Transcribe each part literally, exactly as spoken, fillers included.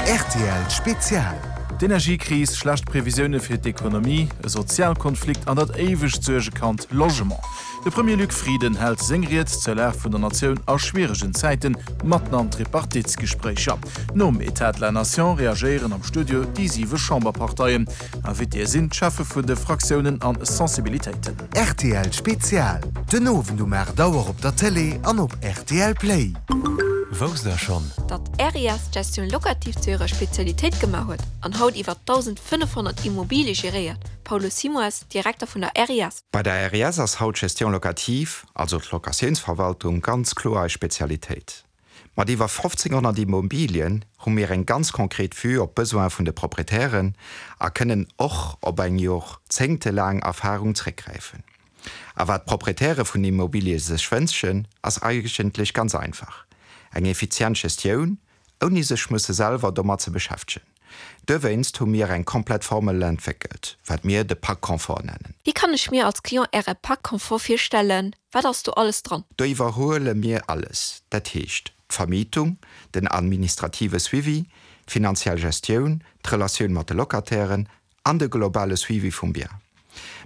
Rtl Spezial. D'Energiekris, schlecht Previsioune fir d'Ekonomie, e Sozialkonflikt an dat éiwegt Suergekand Logement. De Premier Luc Frieden hält seng Ried zur Lag vun der Natioun a schwieregen Zäiten, matten an Tripartitsgespréicher. Nom État de la Nation reagéieren am Studio déi siwe Chamberparteien. Invitéë sinn d'Cheffe vun de Fraktiounen an Sensibilitéiten. Rtl Spezial, den Owend um aacht Auer op der Tëlee an op rtl Play. Wousst der schonn? Datt RES d'Gestion locative zu hirer Spezialitéit gemaach huet an haut iwwer dausendfënnefhonnert Immobilie geréiert, Paulo Simoes, Direkter vun der RES. Bei der RES ass haut d'Gestion locative, also d'Locatiounsverwaltung, ganz kloer eis Spezialitéit. Mat iwwer fofzénghonnert Immobilien hu mir eng ganz konkret Vue op d'Besoine vun de Proprietären a kënnen och op eng jorzéngtelaang Erfarung zréckgräifen. A wat d'Proprietäre vun Immobilie sech wënschen, ass eigentlech ganz einfach, eng effizient Gestioun, ouni sech musse selwer domat ze beschäftegen. Dowéinst hu mir eng komplett Formel entwéckelt, wat mir de Pack Confort nennen. Wéi kann ech mir als Client Äre Pack Confort virstellen? Wat ass do alles dran? Do iwwerhuele mir alles, dat heescht d'Vermietung, den administrative Suivi, d'finanziell Gestioun, d'Relatioun mat de Locatairen an de globale Suivi vum Bien.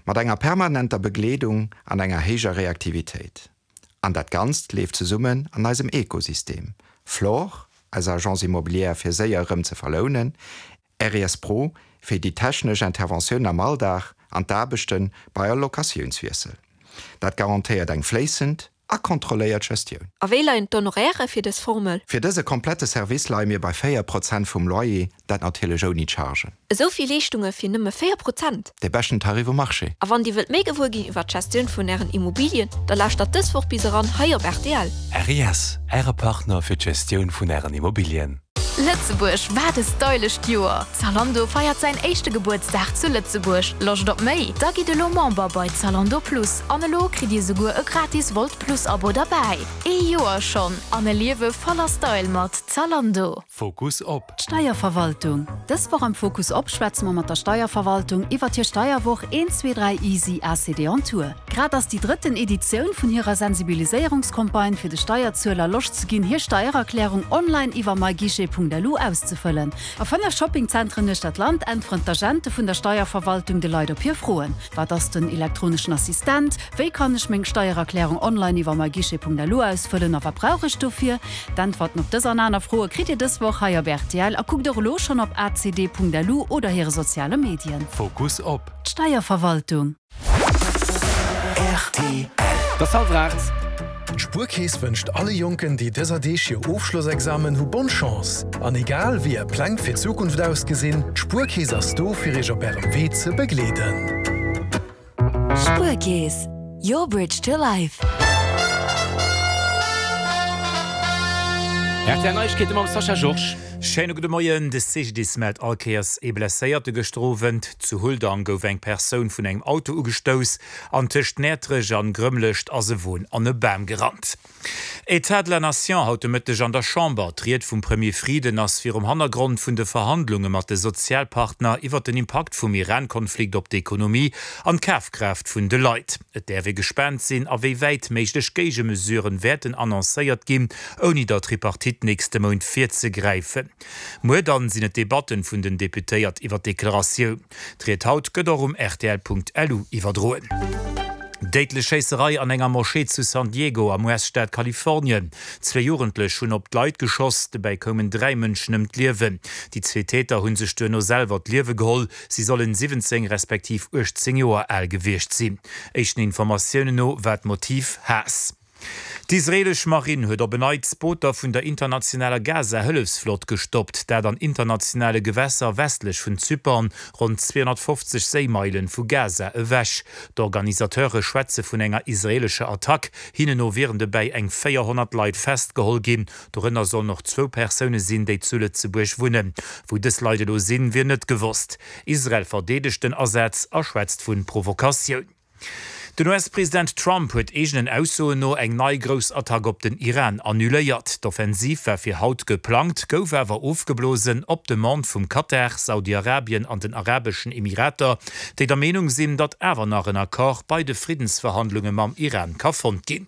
Mat enger permanenter Begleedung an enger héijer Reaktivitéit. An dat Ganzt leeft zesummen an eisem Ekosystem, Flore, eis Agence immobilière fir séier erëm ze verlounen, R E S Pro fir déi technesch Interventioun am Alldag an d'Aarbechte bei all Locatiounswiessel. Dat garantéiert eng fléissend a kontrolléiert Gestioun. A wéi leien d'Honoraire fir dës Formel? Fir dëse komplette Service leie mir bei véier Prozent vum Loyer, dat natierlech ouni Chargen. Esou vill Leeschtunge fir nëmme véier Prozent? Dee beschten Tarif um Marché. A wann Dir wëllt méi gewuer ginn iwwer d'Gestioun vun Ären Immobilien, da lauschtert dës Woch bis eran hei op rtl. R E S, Äre Partner fir d'Gestioun vun Ären Immobilien. Lëtzebuerg, wat e stylescht Joer! Zalando feiert säin éischte Gebuertsdag zu Lëtzebuerg. Loscht op méi? Da gitt elo Member bei Zalando Plus an elo kritt Dir souguer e gratis Wolt Plus Abo derbäi. Ee Joer schonn an e Liewe voller Style mat Zalando. Fokus op. D'Steierverwaltung. Dës Woch am Fokus op schwätze mer mat der Steierverwaltung iwwert hir Steierwoch eent, zwee, dräi Easy A C D on Tour. Grad ass déi drëtten Editioun vun hirer Sensibiliséierungscampagne fir de Steierzueler Loscht ze ginn, hir Steiererklärung online iwwer myguichet Punkt lu auszefëllen. A fënnef Shoppingzentren uechter d'Land äntweren d'Agente vun der Steierverwaltung de Leit op hir Froen. Wat ass den elektroneschen Assistent? Wéi kann ech meng Steiererklärung online iwwer myguichet Punkt lu ausfëllen a wat brauch ech dofir? D'Äntwerten op dës an aner Froe kritt Dir dës Woch hei op R T L a kuckt och elo schonn op acd Punkt lu oder hire soziale Medien. Fokus op. D'Steierverwaltung. R T L. Et ass hallwer aacht. D'Spuerkeess wënscht alle Jonken, déi dëser Deeg hir Ofschlossexamen hu bonne Chance. An egal wéi är Pläng fir d'Zukunft ausgesinn, d'Spuerkeess ass do fir iech op ärem Wee ze begleeden. Spuerkeess, your bridge to life. R T L Neiegkeete mam Sascha Georges. Schéine gudde Moien. De C G D I S mellt all Kéiers ee Blesséierte gëschter Owend. Zu Huldang gouf eng Persoun vun engem Auto ugestouss an tëscht Näertrech an Grëmmlescht ass e Won an e Bam gerannt. État de la Nation haut de Mëtteg an der Chamber. D'Ried vum Premier Frieden ass virum Hannergrond vun de Verhandlunge mat de Sozialpartner iwwer den Impakt vum Iran-Konflikt op d'Ekonomie an d'Kafkraaft vun de Leit. Et däerf ee gespaant sinn, a wéi wäit méiglech Géigemesuren wäerten annoncéiert ginn, ouni der Tripartite nächste Mount virzegräifen. Muer dann sinn et d'Debatten vun den Deputéiert iwwer d'Deklaratioun. D'Ried haut gëtt och um R T L Punkt L U iwwerdroen. Déidlech Schéisserei an enger Moschee zu San Diego am U S-Staat Kalifornien. Zwee Jugendlech hunn op d'Leit geschoss, dobäi koumen dräi Mënschen ëm d'Liewen. Déi zwee Täter hu sech duerno selwer d'Liewe geholl. Si sollen siwwenzéng respektiv uechtzéng Joer al gewiescht sinn. Éischten Informatiounen no war d'Motiv Haass. D'israeelesch Marinn huet op en Neits Booter vun der internationaler Gaza-Hëllefsflott gestoppt, dat an internationale Gewässer westlech vun Zypern, ronn zweehonnertfofzeg Séimeilen vu Gaza ewech. D'Organisateure schwätze vun enger israeelescher Attack. Hinnen no wieren dobäi eng véierhonnert Leit festgeholl ginn. Dorënner sollen och zwou Persoune sinn, déi zu Lëtzebuerg wunnen. Wou dës Leit elo sinn, wier net gewosst. Israel verdeedegt den Asaz a schwätzt vu Provokatioun. Den U S-President Trump huet eegenen Aussoen no eng nei grouss Attack op den Iran annuléiert. D'Offensiv war fir haut geplangt, gouf awer ofgeblosen op Demande vum Katar, Saudi-Arabien an den Arabeschen Emirater, déi der Meenung sinn, datt awer nach en Accord bei de Friddensverhandlunge mam Iran ka fonnt ginn.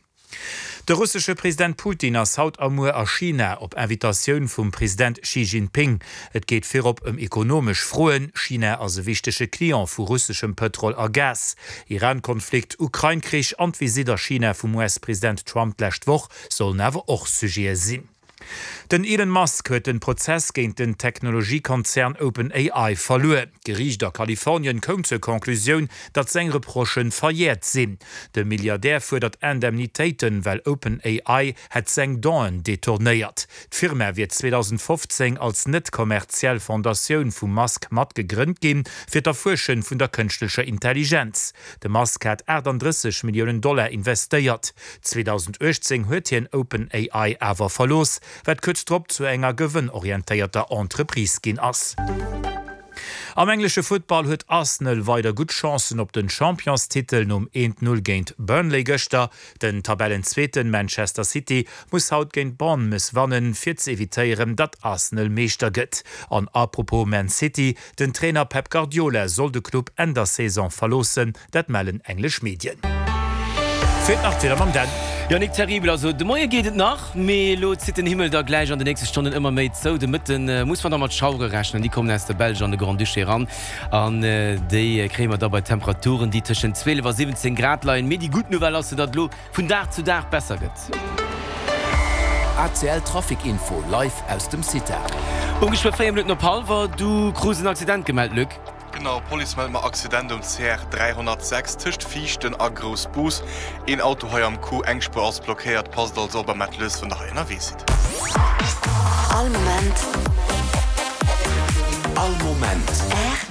De russesche President Putin ass haut a muer a China, op Invitatioun vum President Xi Jinping. Et geet virop ëm ekonomesch Froen. China ass e wichtege Client vu russeschem Pëtrol a Gas. Iran-Konflikt, Ukrain-Krich an d'Visitt a China vum US-President Trump d'lescht Woch sollen awer och Sujete sinn. Den Elon Musk huet den Prozess géint den Technologiekonzern OpenAI verluer. D'Geriicht a Kalifornien koum zur Conclusioun, datt seng Reprochë verjäert sinn. De Milliardär fuerdert Indemnitéiten, well OpenAI hätt seng Don'en detournéiert. D'Firma wier zweedausendfofzéng als net-kommerziell Fondatioun vum Musk mat gegrënnt ginn, fir d'Erfuersche vun der kënschtlecher Intelligenz. De Musk hat aachtanddrësseg Milliounen Dollar investéiert. zweedausenduechtzéng huet hien OpenAI awer verlooss, wat kuerz drop zu enger gewënnorientéierter Entreprise ginn ass. Am englesche Futtball huet Arsenal weider gutt Chancen op den Championstitel nom eent Null géint Burnley gëschter. Den Tabellenzweeten Manchester City muss haut géint Bournemouth wannen, fir ze evitéieren, datt Arsenal Meeschter gëtt. An à propos Man City, den Trainer Pep Guardiola soll de Club Enn der Saison verloossen, dat mellen englesch Medien. Fir d'Nachtwieder mam Dan. Jo, nik terribel. Also de Moie geet et nach, mee elo zitt den Himmel da gläich an de nächste Stonnen ëmmer méi zou. De Mëtte muss mer da mat Schauere rechnen, déi kommen aus der Belsch an de Grand-Duché eran an déi kréie mer da bei Temperaturen, déi tëschent zwielef a siwwenzéng Grad leien. Mee déi gutt Nouvelle ass jo, datt et elo vun Dag zu Dag besser gëtt. A C L Trafic Info live aus dem CITAR. Um geschwë véier Minutten op hallwer, du krus en Accident gemellt, Luc. Genau, Police mellt mer Accident um C R dräihonnertsechs tëscht Viichten a Groussbus. Een Auto hei am Coup, eng Spuer ass blockéiert. Passt also op a maacht lues wann der hei ënnerwee sidd. All Moment. All Moment. R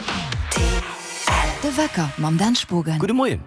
T L. De Wecker mam Dan Spogen. Gudde Moien.